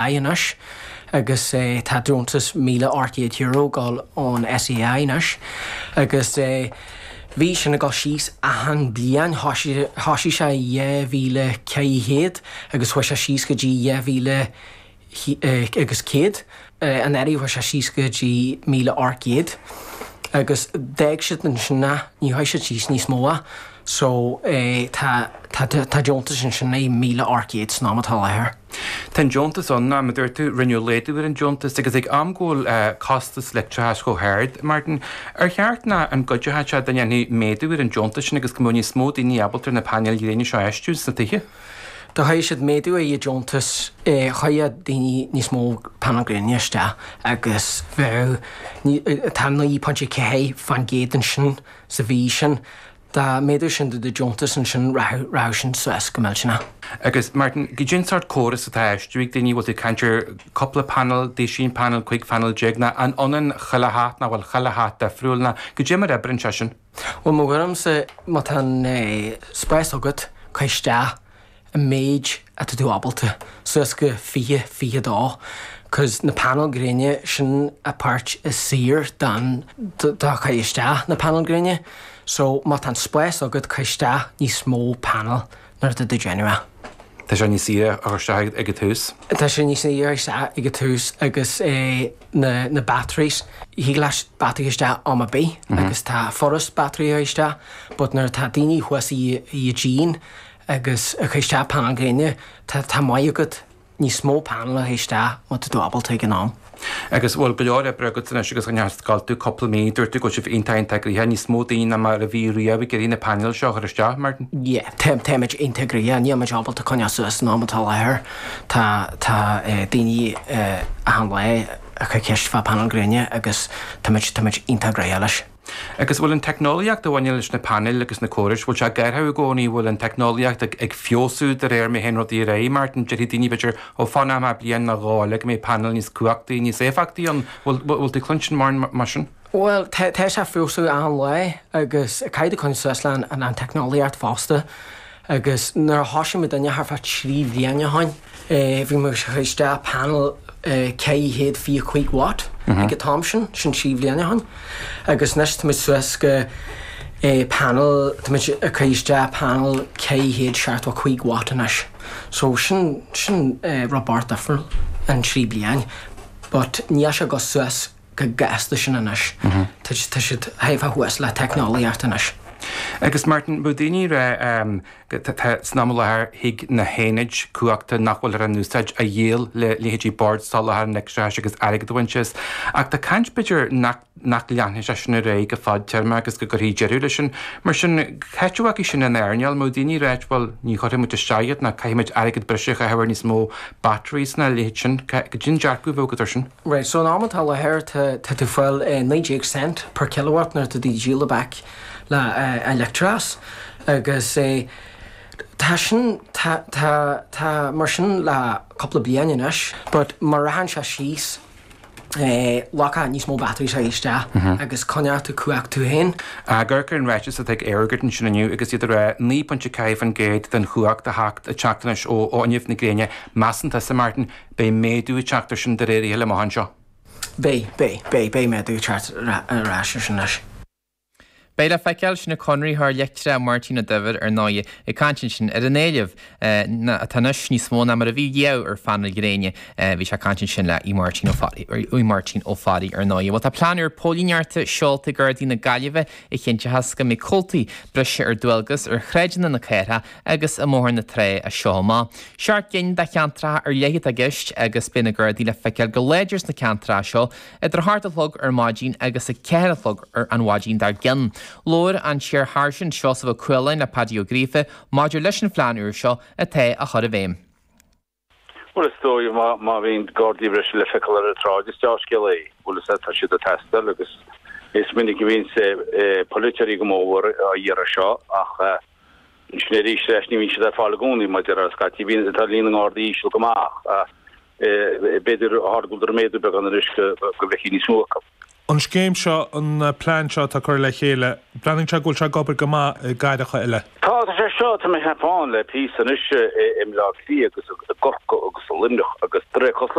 anois agus tá deontas €1,800 ag dul ón SEAI anois agus bhí sin ag dul síos achan bliain, thoisigh sé i 2400 agus chuaigh sé síos go dtí 2000 agus 100. Anuraidh chuaigh sé síos go dtí 1,800 agus d'fhág siad ansin é, ní chuaigh siad síos níos mó é. So tá tá deontas ansin é 1,800 san am atá i láthair. Tá an deontas ann, mar a dúirt tú, rinneadh laghdú ar an deontas agus ag am go bhfuil costas leictreachais chomh hard, Martin, ar cheart ná an gcuideochadh sé dá ndéanfaí méadú ar an deontas sin agus go mbeadh níos mó daoine ábalta ar na painéil ghréine seo a fheistiú sna tithe? Dá gcuirfeadh siad méadú ar an deontas, chuirfeadh daoine níos mó painéal gréine isteach agus bheadh, tá 9.4% ansin sa mhí sin, dá méadódh sin do deontas ansin rachadh sin suas go millteanach. Agus Martin, goidé an sórt córas atá á fheistiú ag daoine, bhfuil tú ag caint ar cúpla panel, duisín panel, 15 phanel ná an ionann chuile theach nó bhfuil chuile theach difriúil ná goidé mar oibríonn sé sin? Bhuel, mo thuairimse, má tá an spás agat, cuir isteach an méid atá tú ábalta, suas go 20, 22, 'cause na painéil gréine, sin a páirt is saoire don, do chur isteach na painéil gréine. So, má tá an spás agat, cuir isteach níos mó panel nuair atá tú ag déanamh é. Tá sé níos saoire a chur isteach ag an tús. Tá sé níos saoire a chur isteach ag an tús agus na na batteries, thig leat battery a chur isteach am ar bith agus tá furast battery a chur isteach but nuair atá daoine thuas i i díon agus ag cur isteach panel gréine tá tá maith agat níos mó panel a chur isteach má tá tú ábalta ag an am. Agus bhfuil go leor oibre agat anois agus an scoil tú cúpla mí, dúirt tú go bhfuil sibh iontach iontach gnoitheach, níos mó daoine ná mar a bhí riamh ag iarraidh na painéil seo a chur isteach, Martin? Yeah, tá, táimid iontach gnoitheach, níl muid ábalta coinneáil suas san am atá i láthair. Tá, tá daoine achan lá ag cur ceist fá panel gréine agus táimid, táimid iontach gnoitheach leis. Agus bhfuil an teicneolaíocht a bhaineann leis na painéil agus na córais, bhfuil sé ag athrú i gcónaí, bhfuil an teicneolaíocht ag ag feabhsú de réir mar a théann rudaí ar aghaidh, Martin? Déarfaidh daoine b'fhéidir, ó fanfaidh mé bliain nó dhó eile go mbeidh painéil níos cumhachtaí, níos éifeachtaí ann. Bhfuil bhfuil tú ag cluinstin mórán mar sin? Bhuel, tá tá sé ag feabhsú achan lá agus caithfidh tú coinneáil suas le an an teicneolaíocht fosta. Agus nuair a thoisigh muidinne thart fá 3 bhliain ó shoin, bhí muid ag cur isteach panel 425 watt ag an t-am sin, sin 3 bhliain ó shoin. Agus anois tá muid suas go panel, tá muid ag cur isteach panel 475 watt anois. So sin, sin rud beag difriúil in 3 bliain. But níl sé ag dul suas chomh gasta sin anois. Tá siad thar a bheith thuas le teicneolaíocht anois. Agus Martin, bheadh daoine ag rá tá san am i láthair thig na haonaid cumhachta nach bhfuiltear á n-úsáid a dhíol le leithéidí Bord Soláthair an Leictreachais agus airgead a bhaint as. Ach tá caint b'fhéidir nach nach leanfaidh sé sin ar aghaidh go fadtéarmach agus go gcuirfí deireadh leis sin. Mar sin, cá háit a bhfágfaidh sin an earnáil? Mbeadh daoine ag ráit bhuel ní chuirfidh muid isteach iad ná caithfidh muid airgead breise a chaitheamh ar níos mó batteries ná a leithéid sin. Cad é an dearcadh a bheadh agat air sin? Right, so an am atá i láthair tá tá tú fáil 19 cent per kilowatt nuair atá tú ag díol back le leictreachas agus tá sin tá tá tá mar sin le cúpla bliain anois but má rachann sé síos glacfaidh níos mó batteries a isteach agus coinneoidh tú cumhacht tú féin. Ag amharc ar an ráiteas atá ag EirGrid ansin inniu agus iad ag rá 9.4% den chumhacht a theacht ag teacht anois ó fhuinneamh na gréine, measann tusa, Martin, Beidh méadú ag teacht ar sin de réir a chéile amach anseo. Beidh, beidh, beidh, beidh méadú ag teacht ar ais ar sin anois. Beidh le feiceáil, sin an conraitheoir leictreach Máirtín Ó Duibhir ar ndóigh ag caint ansin ar an éileamh atá anois níos mó ná mar a bhí riamh ar phainéil ghréine. Bhí sé ag caint ansin le Máirtín Ó Máirtín Ó Fearraigh ar ndóigh. Bhuel tá plean úr póilíneachta seolta ag Gardaí na Gaillimhe a chinnteochas go mbeidh comhaltaí breise ar dualgas ar shráideanna na cathrach agus i mBóthar na Trá as seo amach. Seacht gcinn de cheantracha ar leith atá i gceist agus beidh na Gardaí le feiceáil go láidir sna ceantracha seo idir a hocht a chlog ar maidin agus a ceathair a chlog ar an mhaidin dár gcionn. Labhair an tIar-Sháirsint Seosamh Ó Cualáin le Paddy Ó Gríofa maidir leis an phlean úr seo atá á chur i bhfeidhm. Bhuel, is dóigh má bhíonn Gardaí breise le feiceáil ar an tsráid, is dea-scéal é. Bhuel, is ea, tá siad ag teastáil agus is minic a bhíonns polaiteoirí go mór á iarraidh seo ach ansin arís leis ní bhíonn siad ar fáil i gcónaí mar a déarfá scaití bíonn tá líon na nGardaí íseal go maith ach b'fhéidir go bhfuil méadú beagán anois go bhfeicfidh níos mó acu. An scéim seo, an plean seo atá curtha le chéile, breathnaíonn sé go bhfuil sé ag obair go maith i gcathracha eile. Tá, tá sé seo, tá mé ag ceapadh ann le píosa anois i mBleá Cliath agus i gCorcaigh agus i Luimneach agus de réir cosúlachta.